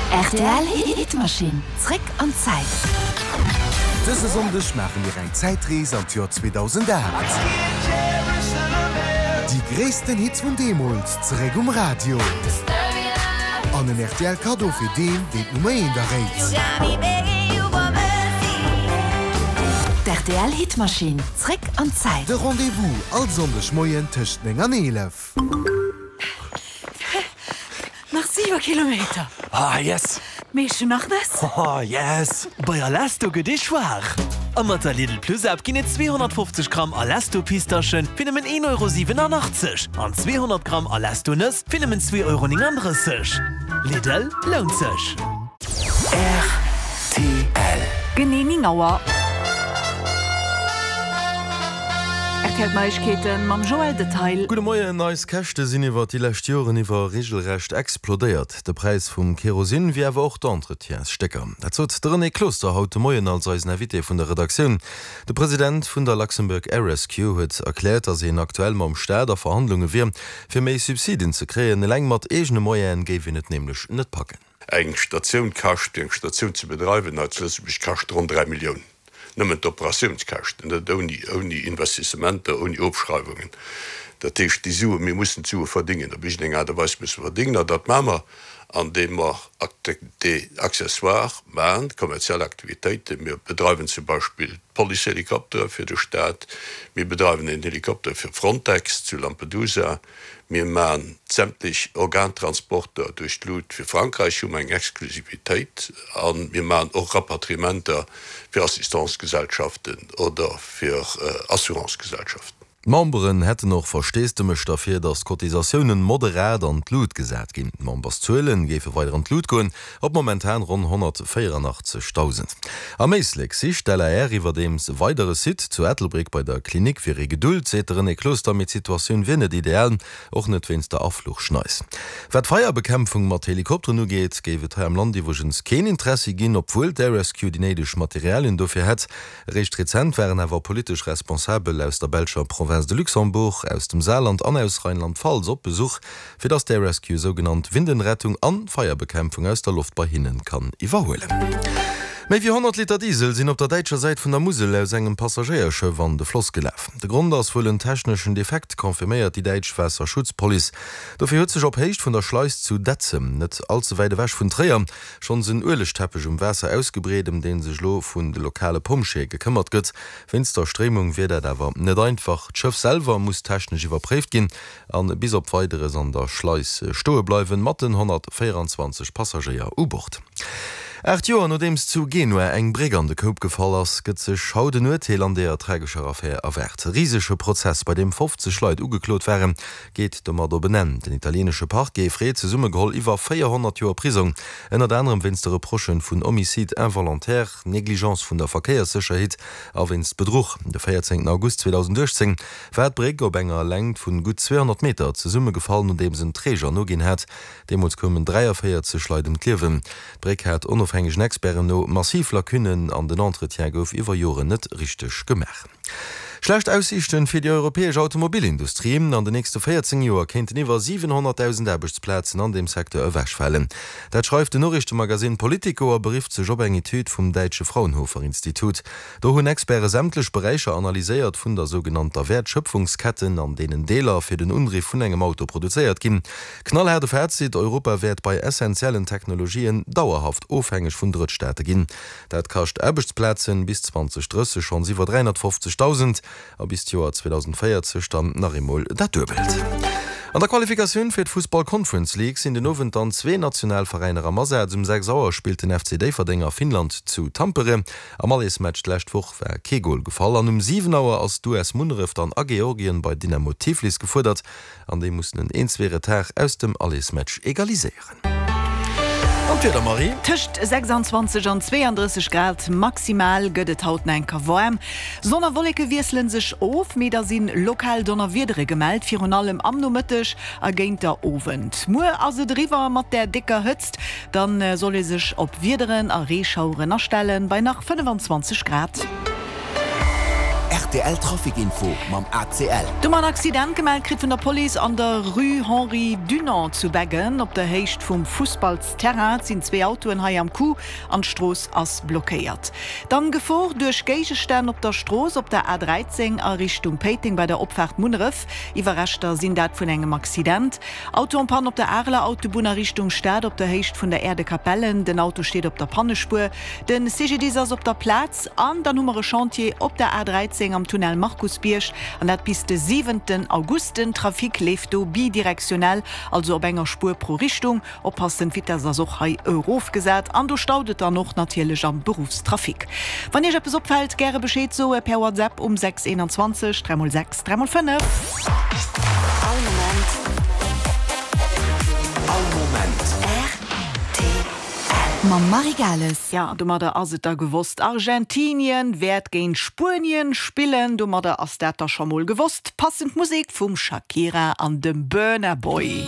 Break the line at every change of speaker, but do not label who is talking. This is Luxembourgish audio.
Rtl Hitmaschinn, zréck an d'Zäit.
Dëse Sonndeg maache mir eng Zäitrees an d'Joer 2008. Déi gréissten Hits vun deemools zeréck um Radio. An en rtl Kaddo fir deen, deen d'Nummer eent erréit.
D'RTL Hitmaschinn, zréck an d'Zäit.
De Rendez-vous all Sonndeg Moien tëscht 9 an 11.
Nach 7 Kilometer.
Ah yes!
Mee ech hun nach Nëss.
Oh yes! Bei Alesto gëtt ee schwaach! A mat der Lidl Plus App ginn et 250 Gramm Alesto Pistaschen fir nëmmen 1,87 Euro an 200 Gramm Alesto Nëss fir nëmmen 2,39 Euro. Lidl, lount sech!
Rtl.
Genee 9 Auer. RTL Neiegkeeten mam Joël Detail.
Gudde Moien, Eis Käschte sinn iwwer déi lescht Joren iwwer regelrecht explodéiert. De Präis vum Kerosin, wéi awer och d'Entretiensstécker. Dat sot de René Closter haut de Moien als eisen Invité vun der Redaktioun. De President vun der Luxembourg Air Rescue huet erkläert, datt een aktuell mam Staat a Verhandlunge wier, fir méi Subsiden ze kréien. Eleng mat eegene Moyene géif een et nämlech net packen.
Eng Statioun kascht, eng Statioun ze bedreiwen hei zu Lëtzebuerg kascht ronn 3 Milliounen, nëmmen d'Operatiounskäschten, net ouni, ouni Investissementer, ouni Ofschreiwungen. Dat heescht, déi Suen, mir mussen d'Sue verdingen, op iergendeng Aart a Weis musse mer verdingen, an dat maache mer, andeem mer Activités accessoires maachen, kommerziell Aktivitéiten. Mir bedreiwen zum Beispill d'Policehelikoptere fir de Staat, mir bedreiwen een Helikopter fir Frontex zu Lampedusa, Mir man sämtlech Organtransporter duerch d'Lut. Fir Frankräich hu mer eng Exklusivitéit a mir man och Rapatriementer fir Assistancegesellschaften oder fir Assurancegesellschaften.
D'Memberen hätten och Versteesdemech derfir, datt d'Cotisatiounen moderat an d'Lut gesat ginn. D'Memberszuelen géife weider an d'Lut goen, op momentan ronn 184.000. Am Éislek sicht d'LAR iwwerdeems e weidere Site. Zu Ettelbréck bei der Klinik wier ee Geduld, seet de René Closter, mee d'Situatioun wier net ideal, och net wéinst der Afluchschneis. Wat d'Feierbekämpfung mat Helikopteren ugeet, géif et hei am Land iwwregens keen Interessi ginn, obwuel d'Air Rescue déi néideg Materialien dofir hätt. Eréischt rezent waren awer politesch Responsabel aus der belscher Province de Luxembourg, aus dem Saarland an aus Rheinland-Pfalz op Besuch, fir dass d'Air Rescue sougenannt Windenrettung an Feierbekämpfung aus der Loft bei hinnen kann iwwerhuelen. Méi wéi 100 Liter Diesel sinn op der däitscher Säit vun der Musel aus engem Passagéierschëff an de Floss gelaf. De Grond ass wuel en techneschen Defekt, confirméiert déi däitsch Waasserschutzpolice. Dofir huet sech op Héicht vun der Schleis zu Detzem, net all ze wäit ewech vun Tréier, schonns en Uelegteppech um Waasser ausgebreet, ëm dee sech elo vun de lokale Pompjeeë gekëmmert gëtt. Wéinst der Stréimung wier dat awer net einfach. D'Schëff selwer muss technesch iwwerpréift ginn. An bis op Weideres an der Schleis stoe bleiwen, mat den 124 Passagéier u Bord. 8 Joer nodeems zu Genua eng Bréck an de Koup gefall ass, gëtt sech haut en Urteel an deeër tragescher Affär erwaart. E risege Prozess, bei deem 50 Leit ugeklot waren, geet domat op en Enn. Den italieenesche Parquet freet zesummegeholl iwwer 400 Joer Prisong, ënnert anerem wéinst de Reprochë vun Homicide involontaire, Negligence vun der Verkéierssécherheet a wéinst Bedruch. De 14 August 2018 war d'Bréck op enger Längt vun gutt 200 Meter zesummegefall, nodeems en Träger noginn hat. Deemools koumen 43 Leit ëm d'Liewen. D'Bréck hat onofhängegen Experten no massiv Lacunnen an den Entretien gouf iwwer Joren net richteg gemaach. Schlecht Aussiichten fir déi europäesch Automobilindustrie, An de nächste 14 Joer kéinten iwwer 700.000 Aarbechtsplazen an deem Secteur ewechfalen. Dat schreift den Noriichtemagasinn Politico a berifft sech op eng Etüd vum däitsche Fraunhofer-Institut. Do hunn Experte sämtlech Beräicher analyséiert vun der sougenannter Wäertschöpfungsketten, an deenen Deeler fir den Undriff vun engem Auto produzéiert ginn. Knallhaarde Fazit, Europa wäert bei essentiellen Technologien dauerhaft ofhängeg vun Drëttstaate ginn. Dat kascht Aarbechtsplazen, bis 2030 schonns iwwer 350.000. A bis d'Joer 2040 dann nach eemol dat Duebelt. An der Qualifikatioun fir d'Fussball Conference League sinn den Owend dann zwee Nationalveräiner am Asaz. Um 6 Auer spillt den FC Déifferdeng a Finnland zu Tampere. Am Allersmatch d'lescht Woch war kee Gol gefall. An um 7 Auer ass d'US Munneref dann a Georgien bei Dynamo Tiflis gefuerdert an déi mussen en 1 zwee Retard aus dem Allersmatch egaliséieren. An d'Wieder, Marie?
Tëscht 26 an 32 Grad maximal gëtt et haut nach enker waarm. Sonn a Wolleke wiessele sech of, mee da si lokal Donnerwiedere gemellt, virun allem am Nomëtteg a géint der Owend. Muer ass et eriwwer mat där décker Hëtzt, dann soll ee sech op Wiederen a Reeschaueren astellen, bei nach 25 Grad.
Rtl Trafic Info mam ACL.
Do mer en Accident gemellt kritt vun der Police an der Rue Henri Dunant zu Beggen op der Héicht vum Fussballsterrain. Et sinn zwee Autoen hei am Coup an d'Strooss ass blockéiert. Dann Gefor duerch Géigestänn op der Strooss op der A 13 a Richtung Péiteng bei der Opfaart Munneref. Iwwerreschter sinn dat vun engem Accident. Auto en panne op der Areler Autobunn a Richtung Stad op der Héicht vun der Aire de Capellen. Den Auto steet op der Pannespuer. De CGDIS ass op der Plaz. An dann hu mer e Chantier op der A 13 am Tunnel Markusbierg an dat bis de siwenten August. Den Trafic leeft do bidirektionell, also op enger Spuer pro Richtung. Oppassen, d'Vitess ass och hei erofgesat an do staut et dann och natierlech am Beruffstrafic. Wann Iech eppes opfält, gäre Bescheed soe per WhatsApp um 6 21 3 x 6 3 x 5.
All Moment.
All Moment.
Rtl. Mam Marie Gales.
Ja, domadder ass et da gewosst, Argentinien wäert géint Spuenien spillen. Domadder ass dat da scho mol gewosst. Passend Musek vum Shakira an dem Burna Boy.